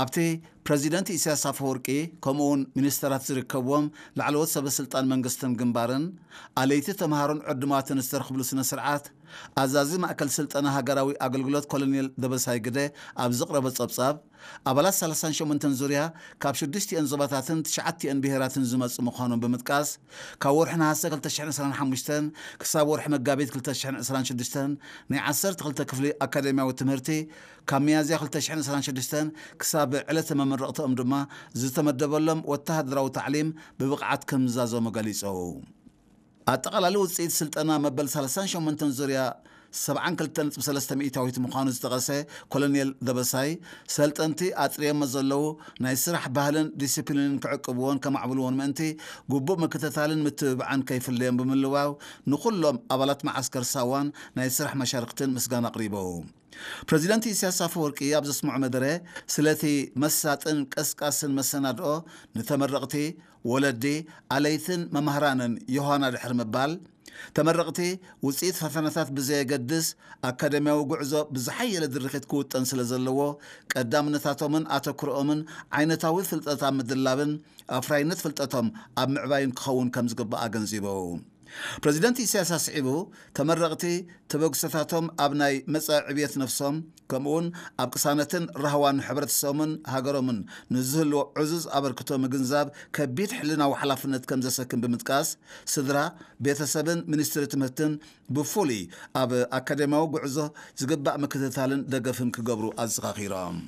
ኣብቲ ፕረዚደንት ኢሳያስ ኣፈወርቂ ከምኡውን ሚኒስተራት ዝርከብዎም ላዕለዎት ሰበ ስልጣን መንግስትን ግንባርን ኣለይቲ ተምሃሮን ዕዱማትን ዝተረኽብሉ ስነ ስርዓት፣ ኣዛዚ ማእከል ስልጠና ሃገራዊ ኣገልግሎት ኮሎኔል ደበሳይ ግደ ኣብ ዘቕረቦ ጸብጻብ፣ ኣባላት ሰላሳን ሸሞንተን ዙርያ ካብ ሽዱሽቲኦን ዞባታትን ትሽዓቲኦን ብሄራትን ዝመጹ ምዃኖም ብምጥቃስ፣ ካብ ወርሒ ነሃሰ ክልተ ሽሕን ዕስራን ሓሙሽተን ክሳብ ወርሒ መጋቢት ክልተ ሽሕን ዕስራን ሽዱሽተን ናይ ዓሰርተ ክልተ ክፍሊ ኣካደሚያዊ ትምህርቲ፣ ካብ ሚያዝያ ክልተ ሽሕን ዕስራን ሽዱሽተን ክሳብ ዕለተ መመረቕትኦም ድማ ዝተመደበሎም ወተሃደራዊ ታዕሊም ብብቕዓት ከምዝዛዘሙ ገሊጹ። ኣጠቓላሊ ውጽኢት ስልጠና መበል ሰላሳን ሸሞንተን ዙርያ ሰብዓን ክልተን ነጥቢ ሰለስተ ሚእታዊት ምዃኑ ዝጠቐሰ ኮሎኔል ደበሳይ፣ ሰልጠንቲ ኣጥርዮሞ ዘለዉ ናይ ስራሕ ባህልን ዲሲፕሊንን ክዕቅብዎን ከማዕብልዎን ምእንቲ ግቡእ ምክትታልን ምትብባዕን ከይፍለዮም ብምልዋው፣ ንኹሎም ኣባላት መዓስከር ሳዋን ናይ ስራሕ መሻርክትን ምስጋና ኣቕሪቡ። ፕረዚደንት ኢሳያስ ኣፈወርቂ ኣብ ዘስምዖ መደረ፣ ስለቲ መሳጥን ቀስቃስን መሰናድኦ ንተመረቕቲ፣ ወለዲ፣ ኣለይትን መማህራንን ዮሃና ድሕሪ ምባል፣ ተመረቕቲ ውጽኢት ፈተናታት ብዘየገድስ ኣካደሚያዊ ጉዕዞ ብዝሓየለ ድርኺት ክውጠን ስለ ዘለዎ፣ ቀዳምነታቶምን ኣተኩሮኦምን ዓይነታዊ ፍልጠት ኣብ ምድላብን ኣፍራይነት ፍልጠቶም ኣብ ምዕባይን ክኸውን ከም ዝግባእ ኣገንዚቡ። ፕረዚደንት ኢሳያስ ኣስዒቡ፣ ተመረቕቲ ተበግሶታቶም ኣብ ናይ መጻኢ ዕብየት ነፍሶም፣ ከምኡውን ኣብ ቅሳነትን ራህዋን ሕብረተሰቦምን ሃገሮምን ንዝህልዎ ዕዙዝ ኣበርክቶ ምግንዛብ ከቢድ ሕልናዊ ሓላፍነት ከም ዘሰክም ብምጥቃስ፣ ስድራ፣ ቤተሰብን ሚኒስትሪ ትምህርትን ብፍሉይ ኣብ ኣካደሚያዊ ጉዕዞ ዝግባእ ምክትታልን ደገፍን ክገብሩ ኣዘኻኺሮም።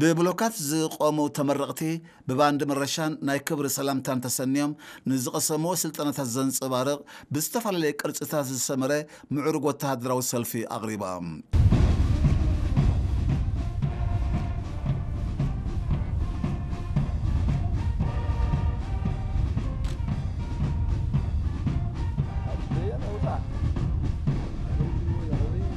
ብብሎካት ዝቖሙ ተመረቕቲ ብባንድ መረሻን ናይ ክብሪ ሰላምታን ተሰንዮም ንዝቐሰምዎ ስልጠናታት ዘንጸባርቕ ብዝተፈላለየ ቅርጽታት ዝሰመረ ምዕሩግ ወተሃደራዊ ሰልፊ ኣቕሪቦም።